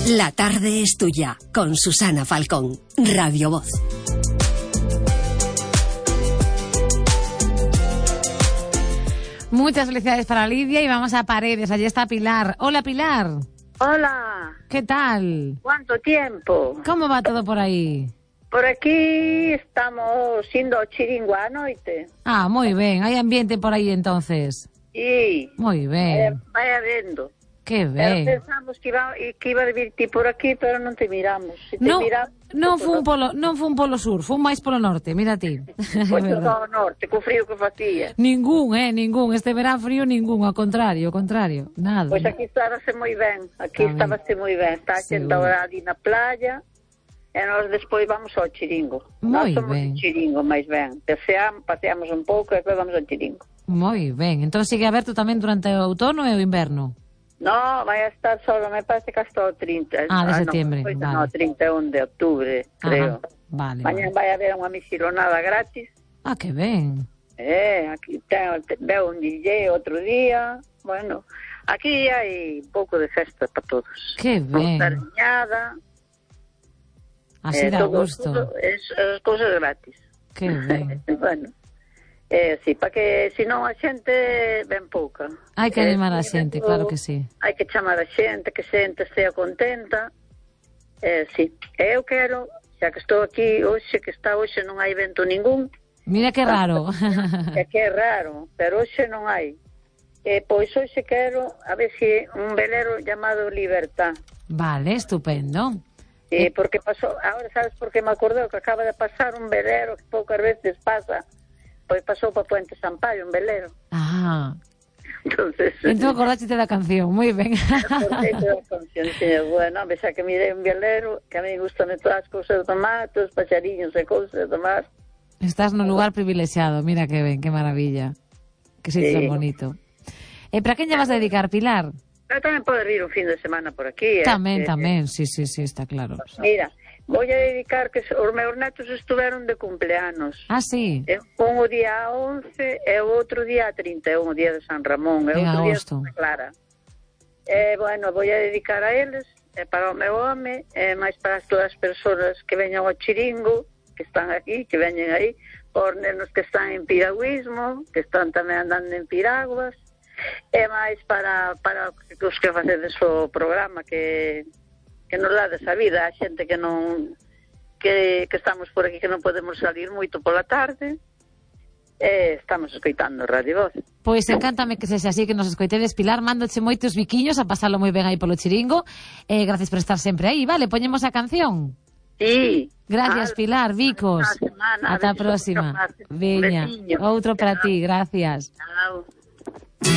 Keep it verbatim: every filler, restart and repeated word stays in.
La tarde es tuya, con Susana Falcón, Radio Voz. Muchas felicidades para Lidia y vamos a Paredes. Allí está Pilar. Hola, Pilar. Hola. ¿Qué tal? ¿Cuánto tiempo? ¿Cómo va todo por aí? Por aquí estamos indo ao chiringo á noite. Ah, moi ben. Hai ambiente por aí entonces. Sí. Moi ben. Eh, vai habendo. Que Ben. ben. Pensamos que iba, que iba a vir ti por aquí, pero non te miramos. Se te Non, miramos, non pues, fun polo, non fun polo sur, fun máis polo norte, mira ti. Pois todo ao norte, co frío que facía. Ningún, eh, ningún. Este verán frío ningún, ao contrario, ao contrario. Nada. Pois aquí estábase moi ben, aquí Tamén. estábase moi ben. Está a xente Seguro. ahora ali na playa, e nós despois vamos ao chiringo. Moi Nós somos ben. o chiringo, máis ben. Paseamos, paseamos un pouco e depois vamos ao chiringo. Moi ben. Entón sigue aberto tamén durante o outono e o inverno. No, vai a estar solo, me parece que hasta o trinta. Ah, de no, septiembre, pois vale. No, trinta e un de octubre, creo. Ajá, vale, Mañan vale. vai haber unha misilonada gratis. Ah, que ben. Eh, aquí ten, veo un D J outro día. Bueno, aquí hai un pouco de festa para todos. Que ben. Sardinada. Así eh, dá todo, gusto. todo, es, es cousas gratis. Que ben. Bueno, eh, sí, para que senón a xente ven pouca. Hai que Eh, animar a sí, xente, vendo- claro que sí. Hai que chamar a xente, que a xente estea contenta. Eh, sí, eu quero, xa que estou aquí hoxe, que está hoxe non hai evento ningún, Mira que raro. é que é raro, pero hoxe non hai. Eh, pois hoxe quero, a ver se un velero chamado Libertad. Vale, estupendo. Eh, porque pasou, agora sabes por que me acordou que acaba de pasar un velero que poucas veces pasa, pois pasou para Puente Sampaio un velero. Ah, Entonces, entón acordaste da canción, moi ben. acordeite da canción, dixen, bueno, xa que mirei un velero, que a mí gustan todas as cousas do mar, todos os paxariños e cousas do mar. Estás no lugar privilexiado, mira que ben, que maravilla. Que sitio Sí. tan bonito. E para quen lle vas a dedicar, Pilar? Pero tamén pode vir un fin de semana por aquí. Tamén, eh, tamén, sí, sí, sí, está claro. Mira, vou a dedicar que os meus netos estuveron de cumpleanos. Ah, sí. Eh, Un o día once e o outro día trinta e un, o día de San Ramón, e En outro día de agosto. Santa Clara. Eh, bueno, vou a dedicar a eles, e para o meu home, e máis para todas as persoas que veñan ao chiringo, que están aquí, que veñen aí, por nenos que están en piragüismo, que están tamén andando en piraguas, e máis para, para os que facedes o programa, que, que nos dades a vida, a xente que non que, que estamos por aquí, que non podemos salir moito pola tarde, e estamos escoitando Radio Voz. Pois encántame que sexa así, que nos escoitedes, Pilar, mándoche moitos biquiños a pasalo moi ben aí polo chiringo. Eh, gracias por estar sempre aí, vale, poñemos a canción. Sí. Gracias, Ah, Pilar, bicos. Semana, Ata a beso, próxima. beso, Veña, besiño. outro para ti, gracias. Chao.